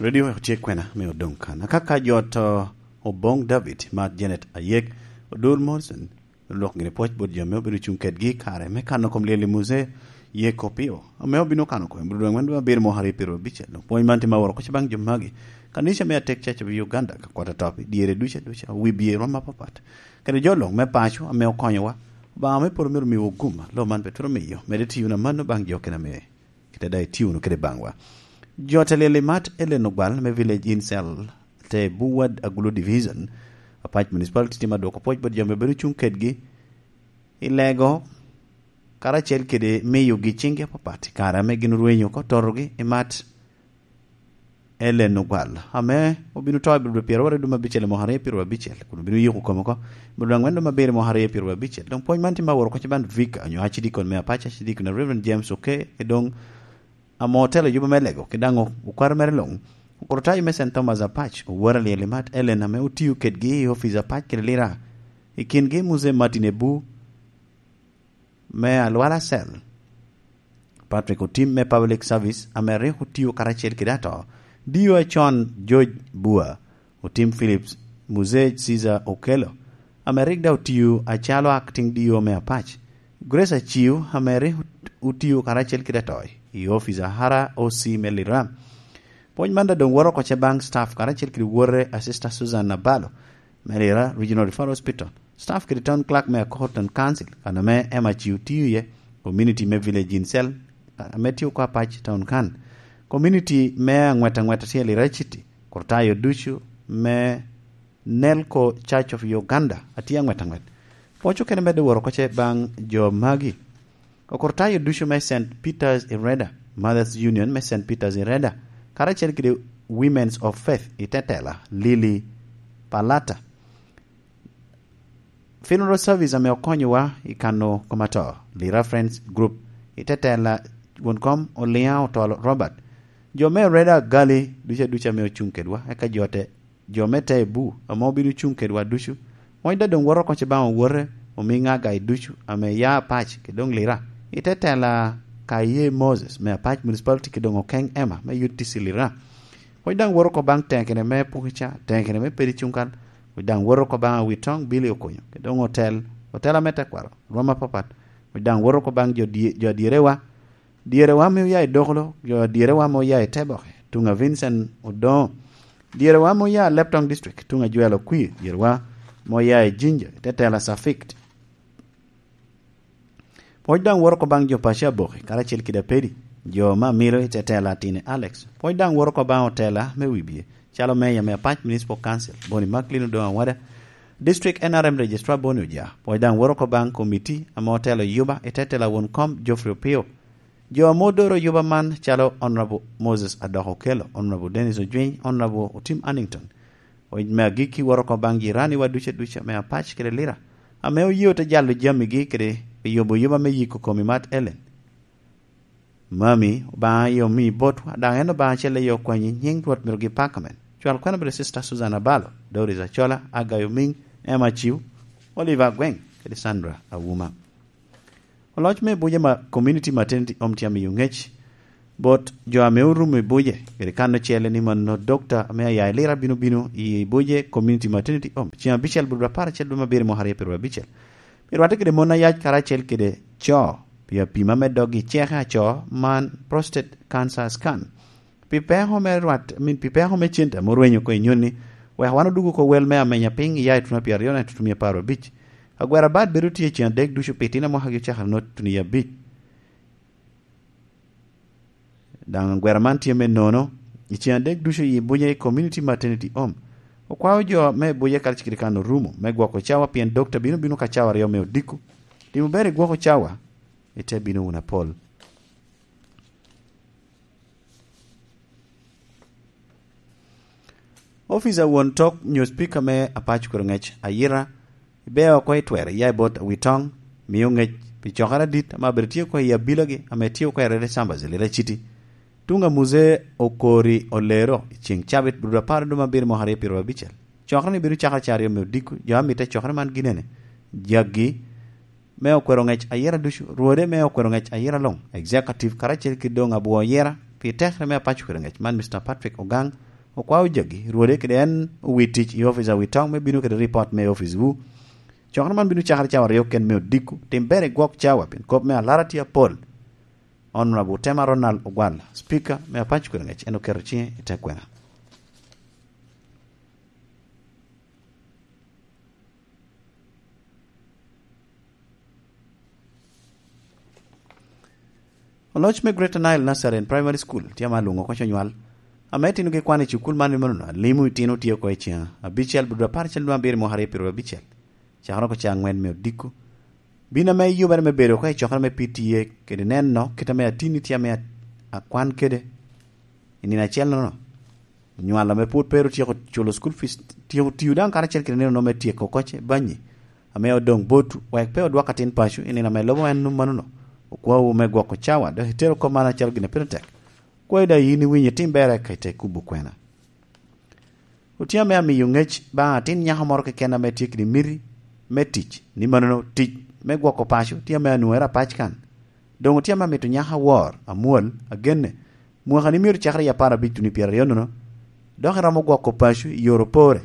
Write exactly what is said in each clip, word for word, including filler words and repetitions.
Radio wek otye kwena me odoŋ kan. Akaka jo to Oboŋ David, Mat Janet Ayek, Odur Morrison, lwok gini pwoc bot jo ame obedo cuŋ kedgi i kare me kano kom lyel i Muse Yeko Pio, ame obino kano kom i Budweng wendo abiro mwaka aryo pyero abicel. Dok pwony man tye ma woro koc baŋ jo magi. Kanica me Atek Church of Uganda ka kwata top i dyere duca duca, wi bye rom apapat. Kede jo luŋ me paco ame okonyowa, Obaŋa me polo myero miwa gum, lo man pe twero miyo, mede tiyo na mano baŋ jo kena me kite daŋ itye wunu kede baŋwa. Jo te lyel i Mat Ellen Ogwal me Village in Cell te Buwad Agulu Division, Apac Municipality tye ma dwoko pwoc bot jo ame bedo cuŋ kedgi i lego, karacel kede miyogi ciŋgi apapat i kare ame gin orwenyo oko totogi i Mat Ellen Ogwal, ame obino to i Budwe pyero aryo dum abicel i mwaka aryo pyero abicel, kun obino yuko kome oko i Budwe angwen dum abiro i mwaka aryo pyero abicel. Doŋ pwony man tye ma woro koc i ban Vika, onyo Archdeacon me Apac, Archdeacon Reverend James Oke, e doŋ ame otelo yubo me lego, kede daŋ okwaro mere luŋ. Okurutayo me Saint Thomas Apac, owor alyel i Mat Ellen ame otio kedgi i ofice Apac kede Lira. I kingi Muse Martin Ebu me Alwala Cell, Patrick Otim me Public Service ame rik otio karacel kede ato, D O acon George Bua, Otim Phillips, Muse Caesar Okello, ame rik daŋ otio acalo acting D O me Apac, Grace Aciu, ame rik otio karacel kede ato i ofice a R O C me Lira. Pwony man daŋ doŋ woro oko ce baŋ staff karacel kede wore a Sister Susan Nabalo me Lira Regional Referral Hospital, staff kede town clerk me Akor Town Council, kan ame Emma Aciu tio iye, community me Village in Cell, ame tye oko Apac Town kan, community me aŋwet aŋwet tye i Lira City, kurtayo ducu me Nelco Church of Uganda atye aŋwet aŋwet. Pwoc okene medde woro oko ce baŋ jo magi. Okurtayo ducu me Saint Peter's Ireda, Mothers Union me Saint Peter's Ireda, karacel kede Women's of Faith i Tetela, Lily Palata. Funeral service ame okonyowa i kano kom ato, Lira Friends Group i Tetela, won kom Oliŋa Otol Robert. Jo me Ireda Gali ducu aduca ame ocuŋ kedwa, eka jo te, jo me Tebu ame obino cuŋ kedwa ducu. Pwony daŋ doŋ woro oko ce baŋ owote, omiŋa agai ducu ame ya Apac kede doŋ Lira. I Tetela Kaye Moses me Apac Municipality kede doŋ Okeŋ Emma me U T C Lira. Pwony daŋ woro oko baŋ tekene me Pukica, tekene me Pedi Cuŋkal. Pwony daŋ woro oko baŋ Awitoŋ Billy Okonyo, kede doŋ otel, otel ame tekwaro, rwom apapat. Pwony daŋ woro oko baŋ jo die-, jo dyerewa, dyerewa ame oya i Dokolo, jo dyerewa ame oya i Teboke, tuŋ a Vincent Odoŋo, dyerewa ame oya i Leptong District, tuŋ a Jwel Okwi, dyerewa ame oya i Jinja, i Tetela Safik. Pwony daŋ woro oko baŋ jo paco Aboki, karacel kede Apedi, jo me Amilo i Tetela Atini Alex. Pwony daŋ woro oko baŋ otela me Wibye, calo Meya me Apac Municipal Council, Boni Macklin Odoŋo Awada, District N R M Registrar Boni Oja. Pwony daŋ woro oko baŋ komiti ame otelo yuba i Tetela won kom Geoffrey Opio. Jo ame odoro yuba man calo Honorable Moses Adok Okello, Honorable Dennis Ojwiny, Honorable Otim Annington. Pwony me agikki woro oko baŋ jiraniwa ducu aduca me Apac kede Lira, ame oye ote jalo jamigi kede pi yubo yuba me yiko kom i Mat Ellen. Mami, Obaŋa aye omi botwa, daŋ en Obaŋa acel aye okwanyi, nyiŋ Rwot myero gi pak amen. Cwal kwena bedo Sister Susan Abalo, Doris Acola, Agayo Miŋ, Emma Aciu, Oliver Agweŋ, kede Sandra Awuma. Oloc me Buje ma Community Maternity Home tye amiyo ŋec bot jo ame orumo i Buje, kede kan ocele ni mano dokta ame aya i Lira bino bino i Buje Community Maternity Home, ceŋ abicel bot apar acel dwe me abiro mwaka aryo pyero abicel. Pi rwatte kede mon ayac karacel kede co, pi apima me doggi ceke aco man prostate cancer scan. Pi peko me rwat, I mean, pi peko me cente ame orwenyo oko i nyoni, wek wan odug oko wel me amenya piny iya i tuno pyeraryo naka tuno mia apar abic. Agwera bat bedo tye i cen adek ducu pi itino mwaka gi ocakere nongo tuno i abic. Daŋ agwera man tye me nono i cen adek ducu i Bunya i Community Maternity Home. Okwao jo me Bunya kadi cikiri kan orumo me gwoko cawa pien dokta bino bino ka cawa aryo me odiko. Timo ber i gwoko cawa, ite bino wunu apol. Ofica won tok nyo Speaker me Apac Kwero Ngec Ayira, ibeo oko i twero iya i bot Awitoŋ, mio ŋec pi cokere adit ame abedo tye oko i abilagi ame tye oko i Red Chambers i Lira City. Tuŋ a Muse Okori Olero i ceŋ cabit, Budwe apar dwe me abiro mwaka aryo pyero abicel. Cokere ni bedo cakere caryo me odiko, jo amitte cokere man ginene, jaggi, me okwero ŋec ayera ducu, rwode me okwero ŋec ayera luŋ, executive karacel ki doŋ abwo yera, pi tekere me Apac Okwero Ŋec man, Mister Patrick Ogang, Okwao jagi, rwode kede en owi tic i ofic a wi toŋ me bino kede ripot me oficwu. Cokere man bino cakere cawa aryo ken me odiko. Tim ber i gwok cawa, pien kop me alara tye apol. Honorable Tema Ronald Ogwal, Speaker me Apac Kwero Ngec, en oketo ciŋe i te kwena. Oloc me Greater Nile Nursery and Primary School tye ama lwoŋo oko conywal, ame itinogi kwan i cukul man i manono alimo itino tye oko i cen abicel, buto apar acel dwe abiro mwaka aryo piro abicel, cakere oko caa angwen me odiko. Bin ame yubere me bedo oko i cokere me P T A kede neno kit ame atinni tye ame at-, akwan kede i nino acel nono. Onywalo ame pwod pe ru tyeko culo school fees, tyeko tiyo daŋ karacel kede nino me tyeko koce banyi ame odoŋ botwu, wek pe odwok atin paco i nino ame lubo en manono. Okwawu me gwoko cawa, dok itero kop man acalo gin a pire tek. Kwayo daŋ yin iwinyo itim berre ka ite kubo kwena. Otye ame amiyo ŋec baŋ atin nyako moro keken ame tye kede miti me tic, ni manono tic me gwoko paco tye ame anwoŋere apac kan. Doŋ otye ame amito nyako awor, amwol, agenne, mwaka ni myero cakere i apar abic tuno i pyeraryo nono, dok iromo gwoko paco i yore opore.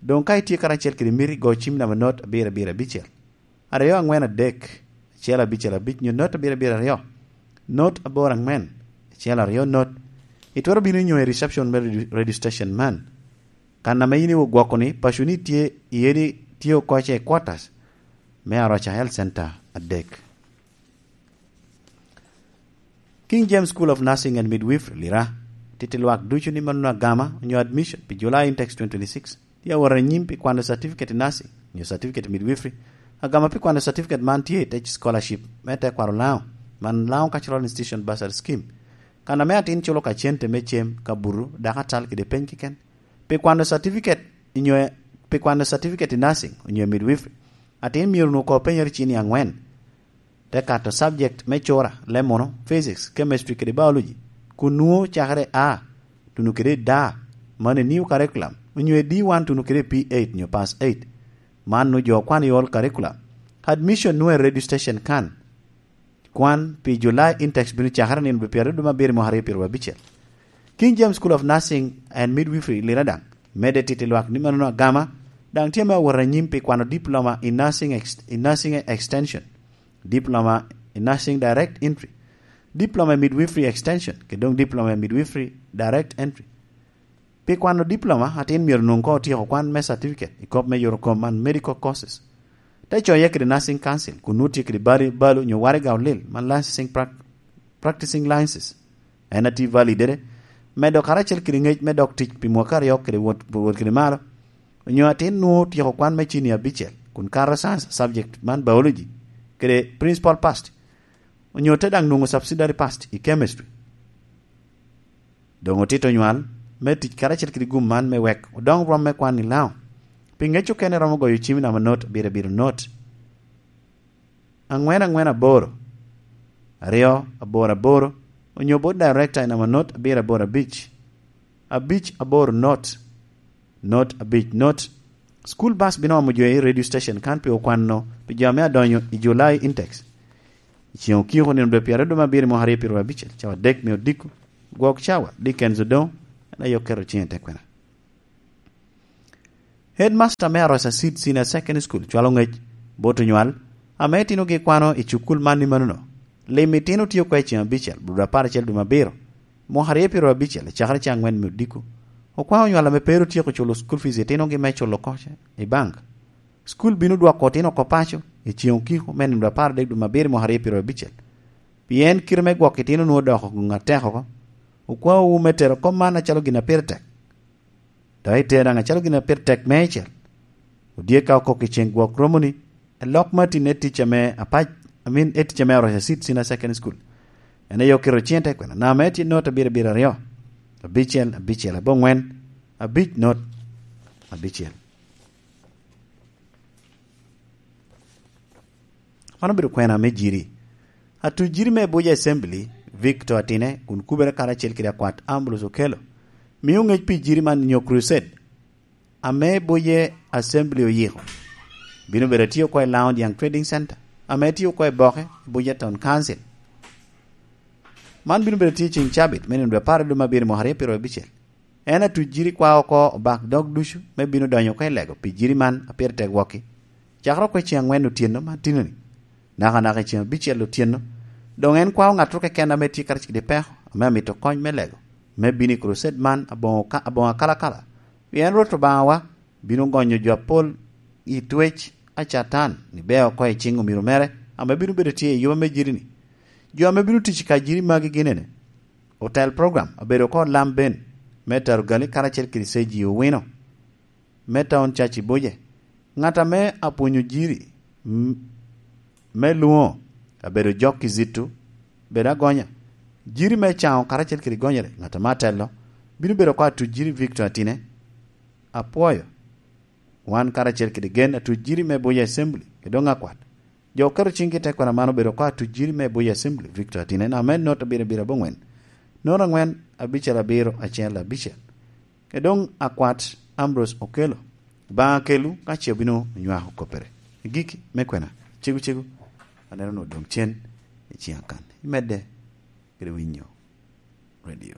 Doŋ ka itye karacel kede miti, go cim namba not abiro abiro abicel, aryo angwen adek, acel abicel abic, nyo not abiro abiro aryo, not aboro angwen, acel aryo not. Itwero bino nyo i reception me radio, radio station man, kan ame yin iwuok gwoko ni paco ni tye i edi tye oko ce i quarters me Aroca Health Center adek. King James School of Nursing and Midwifery, Lira, titi lwak ducu ni mano agama onyo admission pi July Intex twenty twenty-six. Tye awot anyim pi kwano certificate i nursing, onyo certificate i midwifery. Agama pi kwano certificate man tye i te scholarship me tekwaro Lango, man Lango Cultural Institution Bursary Scheme. Kan ame atin culo ka cente me cem, ka butu, dako atal kede peny keken. Pi kwano certificate, onyo pi kwano certificate i nursing, onyo midwifery, atin myero onwoŋo ko penyere cini angwen. Te kato subject me cura, lemono, physics, chemistry kede biology, kun nwoŋo cakere A, tuno kede D, man i new curriculum, onyo i D one tuno kede P eight nyo pass eight. Man nwoŋo jo okwano i old curriculum. Admission nwoŋo i radio station kan. Kwan pi July Intex bino cakere nino dwe pyeraryo dwe me abiro mwaka aryo pyeru abicel. King James School of Nursing and Midwifery i Lira daŋ medde titi lwak ni manono agama, daŋ tye me awot anyim pi kwano diploma i nursing ex-, i nursing extension, diploma i nursing direct entry, diploma i midwifery extension, kede doŋ diploma i midwifery direct entry. Pi kwano diploma, atin myero onwoŋ koŋ otyeko kwan me certificate i kop me yot okom man medical courses. Te coye kede Nursing Council, kun nwoŋo tye kede bali, balo onyo waraga olil, man licensing prac-, practicing licenses. En atye valid ede, medo karacel kede ŋec me dok tic pi mwaka aryo kede wot, wot kede malo, onyo atin nwoŋo otyeko kwan me cini abicel, kun kato science subject man biology, kede principal past, onyo te daŋ nwoŋo subsidiary past i chemistry. Doŋ otito nywal me tic karacel kede gum man me wek odoŋ rwom me kwan i Lango. Pi ŋec okene romo goyo cim i namba not abiro abiro not, angwen angwen aboro, aryo aboro aboro, onyo bot director i namba not abiro aboro abic, abic aboro not, not abic not. School bus bino omo jo i radio station kan pi okwano pi jo ame adonyo i July Intex. I ceŋ okiko nino dwe pyeraryo dwe me abiro mwaka aryo pyeru abicel, cawa adek me odiko, gwok cawa, Dickens Odongo, en aye oketo ciŋe i te kwena. Headmaster me Aroca Seed Senior Secondary School cwalo ŋec bot onywal ame itinogi kwano i cukul man i manono. Lim itino tye oko i ceŋ abicel, buto apar acel dwe me abiro, mwaka aryo pyeru abicel, cakere ceŋ angwen me odiko. Okwao onywal ame pe ru tyeko culo school fees itinogi me culo koce i bank. School bino dwoko otino oko paco i ceŋ okiko me nino apar adek dwe me abiro mwaka aryo pyeru abicel. Pien kite me gwok itino nwoŋo odoko gin atek oko. Okwaowu me tero kop man acalo gin a pire tek. Dok itero daŋ acalo gin a pire tek meicel. Odye ka okok i ceŋ gwok romoni, elok ma tye ne tic ame apac, I mean, e tic ame Aroca Seed Senior Secondary School. En aye oketo ciŋe te kwena, namba me tye not abiro abiro aryo, abicel, abicel, abongwen, abic not, abicel. Man obedo kwena me Jiri. Atuc Jiri me Abuja Assembly, Victor Atine, kun kubere karacel kede akwat Ambrose Okello, mio ŋec pi Jiri man nyo crusade ame Abuja Assembly oyiko. Bino bedo atye oko i Lounge Young Trading Center, ame tye oko i Boke, Abuja Town Council. Man bino bedo atye ceŋ cabit me nino dwe apar i dwe me abiro mwaka aryo pyeru abicel. En atuc jiri kwa oko obak dog ducu me bino donyo oko i lego pi jiri man a pire tek wokki. Cakere oko i ceŋ aŋwen otyeno man tino-ni, nakanaka i ceŋ abicel otyeno, doŋ en kwao ŋattoro keken ame tye karacel kede peko ame amito kony me lego, me bino i krocet man aboŋo ka-, aboŋo akalakala. Pien Rwot Obaŋawa bino gonyo jo apol i twec a Catan ni bea oko i ciŋ omiro mere ame bino bedo tye i yuba me jiri-ni. Jo ame bino tic i ka jiri magi gin ene: otel program abedo oko Lam Ben, me Tarugali karacel kede Seji Owino, me Taun Cac i Buje, ŋat ame apwonyo jiri, m-, me Luŋo abedo Jok Kizito, bedo Agonya, jiri me Caŋo karacel kede Gonyere, ŋat ame atelo, bino bedo oko atuc jiri Victor Atine. Apwoyo wan karacel kede gen atuc jiri me Buje Assembly, kede doŋ akwat. Jo oketo ciŋgi i tekwaro man obedo oko atuc jiri me Buje Assembly, Victor Atine, en ame not abiro abiro aboŋwen, not aŋwen abicel abiro acel abicel. Kede doŋ akwat Ambrose Okello, Obaŋa kelwu ka ce obino onywako koppere. Igikki me kwena, cegu cegu, aneno onwoŋo doŋ cen i ciŋ akan. Imedde kede winyo redio.